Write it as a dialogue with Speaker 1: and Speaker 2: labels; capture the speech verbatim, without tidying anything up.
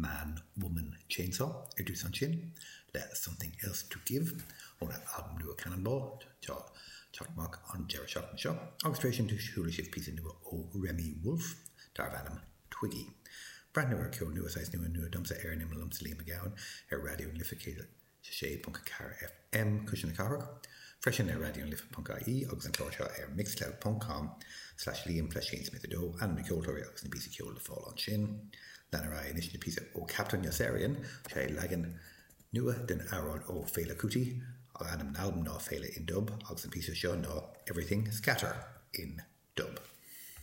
Speaker 1: Man Woman Chainsaw ar dtús ansin le Something Else to Give óna albam nua Cannonball atá ag teacht amach an deireadh seachtaine seo agus tar éis sin chuala sibh píosa nua ó Remi Wolf darb ainm Twiggy. Breathnú ar ceol nua saghas nua nua domsa ar an imeall liomsa Liam Mac Gabhann ar Raidió na Life céad sé ponc ceathair FM Cuisle na Cathrach, freisin ar Raidió na Life.ie agus an clár seo ar mixcloud.com slash Liam fleiscín Smith a dó ainm na ceoltóirí agus na píosaí ceoil le fáil ansin. Lean ar aghaidh anois le píosa ó Captain Yossarian sé leagan nua den amhrán ó Fela Kuti ainm an albam ná Fela in Dub agus an píosa seo ná Everything Scatter in